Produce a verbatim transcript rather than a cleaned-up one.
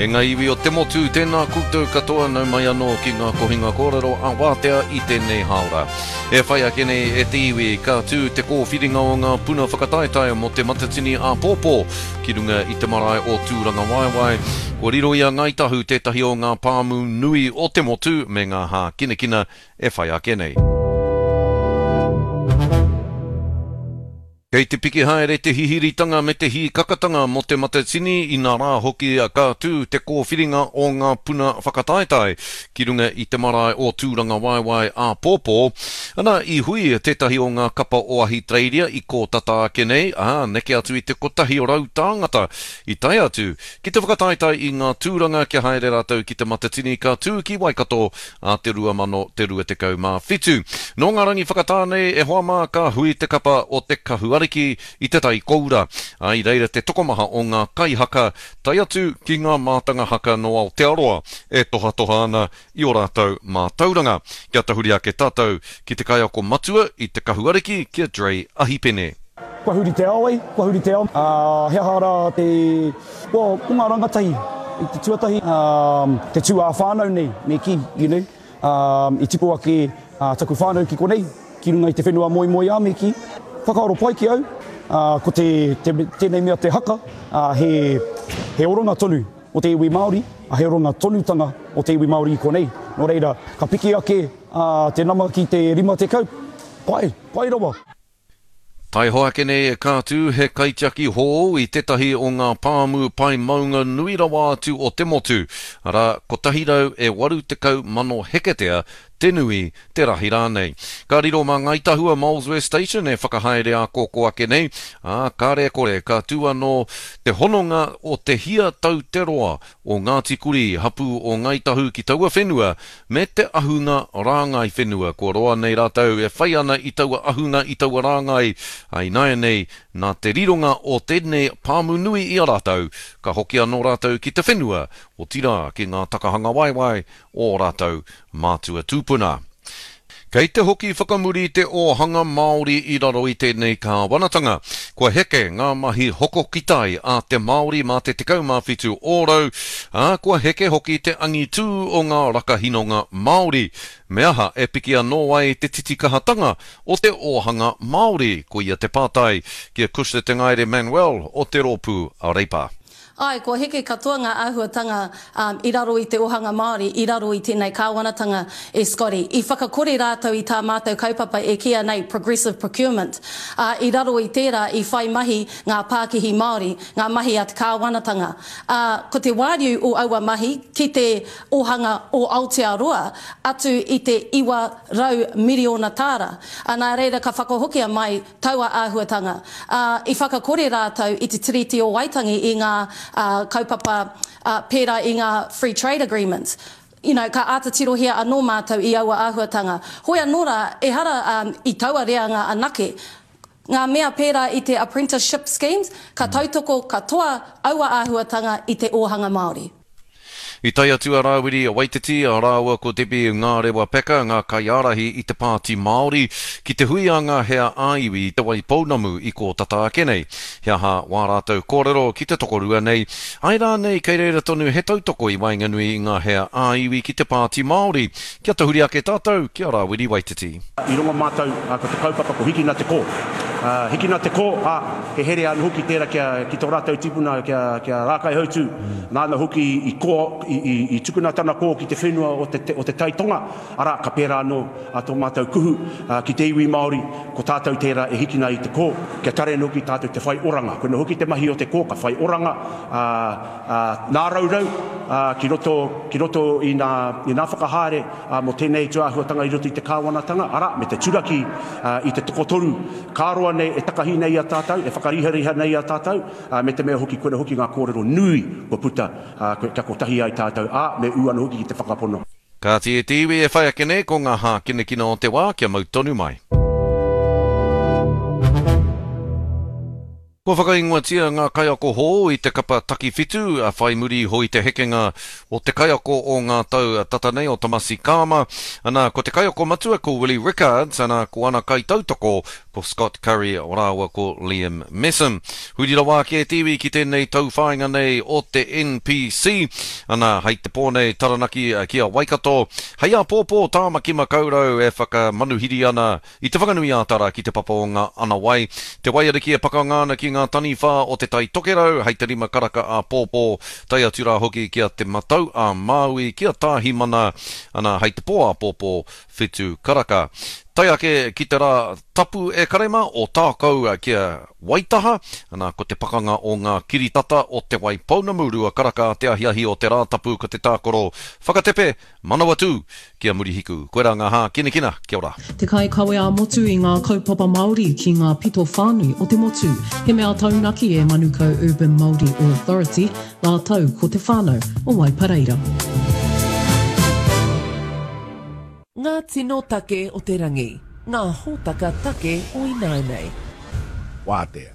E ngā iwi o te motu, tēnā koutou katoa nau mai anō ki ngā kohinga kōrero a Wātea i tēnei hāora. E whai ake nei e te iwi, ka tū te kōwhiringa o ngā puna whakataetae mō te Matatini āpōpō ki runga i te marae o Tūrangawaewae. Kua riro i a Ngāi Tahu tētahi o ngā pāmu nui o te motu me ngā hākinakina e whai ake nei. Kei te piki haere te hihiritanga me te hīkakatanga mō te Matatini, inā rā hoki ka tū te kōwhiringa o ngā puna whakataetae ki runga i te marae o Tūrangawaewae āpōpō. Ana, i hui tētahi o ngā kapa o Ahitereiria i kō tata ake nei, ā, neke atu i te kotahi rau tāngata i tae atu ki te whakataetae i ngā tūranga kia haere rātou ki te Matatini ka tū ki Waikato a te rua mano te rua tekau mā whitu. Nō ngā rangi whakatā nei e hoa mā ka hui te kapa o te Kahu Ariki i te tai koura. Ā, i reira te tokomaha o ngā kaihaka tae atu ki ngā mātanga haka nō Aotearoa e tohatoha ana i ō rātou mātauranga. Kia tahuri ake tātou ki te kaiako matua i te Kahu Ariki ki a Dre Ahipene. Kua huri te ao, ei, kua huri te ao. Ā, he aha rā te, well, ko ngā rangatahi i te tuatahi, ā, te tū ā-whānau nei, me kī, you know, ā, i tipu ake ā, taku whānau ki konei, ki runga i te whenua moemoeā, me kī. Whakaaro pai ki au, ā, ko te, te, tēnei mea te haka, ā, he, he oranga tonu o te iwi Māori, ā, he oranga tonutanga o te iwi Māori i konei. Nō reira, ka piki ake, ā, te nama ki te rima tekau, pai, pai rawa. Taihoa ake nei ka tū he kaitiaki hou i tētahi o ngā pāmu pae maunga nui rawa atu o te motu, arā, kotahi rau e waru tekau mano heketea te nui, te rahi rānei. Ka riro mā Ngāi Tahu a Molesworth Station e whakahaere ā-kōkō ake nei, ā, kāre e kore ka tū anō te hononga o te hia tau te roa o Ngāti Kurī, hapū o Ngāi Tahu ki taua whenua, me te ahunga rāngai whenua. Kua roa nei rātou e whai ana i taua ahunga, i taua rāngai, ā, ināianei, nā te rironga o tēnei pāmu nui i a rātou, ka hoki anō rātou ki te whenua, otirā ki ngā takahanga waewae o ō rātou mātua tūpuna. Kei te hoki whakamuri te ōhanga Māori i raro i tēnei kāwanatanga. Kua heke ngā mahi hoko ki tai a te Māori mā te tekau mā whitu ōrau, ā, kua heke hoki te angitū o ngā rakahinonga Māori. Me aha e piki anō ai te titikahatanga o te ōhanga Māori? Koia te pātai ki a Cushla Te Ngaere Manuel o te rōpū Reipa. Āe, kua heke katoa ngā āhuatanga i raro i te ōhanga Māori, i raro i tēnei kāwanatanga e Scotty. I whakakore rātou i tā mātou kaupapa e kīia nei progressive procurement, ā, i raro i tērā i whai mahi ngā pākihi Māori, ngā mahi a te kāwanatanga. Ā, ko te wāriu o aua mahi ki te ōhanga o Aotearoa atu i te iwa rau miriona tāra. Ā, nā reira ka whakahokia mai taua āhuatanga, ā, i whakakore rātou i te Tiriti o Waitangi i ngā kaupapa pērā i ngā Free Trade Agreements. You know, ka āta tirohia anō mātou i aua āhuatanga. Hoi anō rā, ehara i taua reanga anake, ngā mea pērā i te Apprenticeship Schemes, ka tautoko katoa aua āhuatanga i te ōhanga Māori. I tae atu a Rāwiri Waititi rāua ko Debbie Ngārewa Peka, ngā kaiārahi i te Pāti Māori, ki te hui a ngā hea ā-iwi i Te Waipounamu i kō tata ake nei. He aha wā rātou kōrero ki te tokorua nei? Āe rānei kei reira tonu he tautoko i waenganui i ngā hea ā-iwi ki te Pāti Māori? Kia tahuri ake tātou ki a Rāwiri Waititi. I rongo mātou ko te kaupapa ko Hikina te Kō. Hikina te Kō, ā, he here anō hoki tērā kia, ki tō rātou tipuna kia, kia Rākaihautū, nāna hoki i kō, i, i, i tukuna tana kō ki te whenua o te, o te Tai Tonga, arā, ka pērā anō tō mātou kuhu ki te iwi Māori, ko tātou tērā e hikina i te kō, kia tare anō hoki tātou te whai oranga. Koinā hoki te mahi o te kō, ka whai oranga, ā, ā, nā raurau, ā, ki roto, ki roto i nā, i nā whakahaere, ā, mō tēnei tūāhuatanga i roto i te kāwanatanga, arā, me te turaki, ā, i te tokotoru ka roa nei e takahi nei i a tātou, e whakarihariha nei i a tātou, ā, me te mea hoki koina hoki ngā kōrero nui kua puta, ā, kia kotahi ai tātou, ā, me ū anō hoki ki te whakapono. Kāti e te iwi e whai ake nei ko ngā hākinakina o te wā kia mau tonu mai. Kua whakaingoatia ngā kaiako hou i te kapa Takiwhitu, a whai muri iho i te hekenga o te kaiako o ngā tau tata nei o Tomasi Kama. Ana, ko te kaiako matua ko Willie Rickards, ana, ko ana kaitautoko ko Scott Curry rāua ko Liam Messam. Huri rawa ake te iwi ki tēnei tauwhāinga nei o te NPC. Ana, hei te pō nei Taranaki ki a Waikato. Hei āpōpō Tāmaki Makaurau e whakamanuhiri ana i Te Whanganui-ā-Tara ki te papa o ngā Anawai. Te Waiariki e pakanga ana ki ngā taniwha o Te Tai Tokerau hei te rima karaka āpōpō, tae atu rā hoki ki a Te Matau a Māui, ki a Tāhimana, ana hei te pō āpōpō, whitu karaka. Tae ake ki te rā tapu e Karema o Tākou ki a Waitaha, ana ko te pakanga o ngā kiritata o Te Waipounamu rua karaka te ahiahi o te Rātapu ko te tākaro whakatepe Manawatū ki a Murihiku. Koirā ngā hākinakina, kia ora. Te kaikawe ā-motu i ngā kaupapa Māori ki ngā pito whānui o te motu. He mea taunaki e Manukau Urban Māori Authority rātou ko te whānau o Waipareira. Ngā tino take o te rangi, ngā hōtaka take o ināianei. Wātea.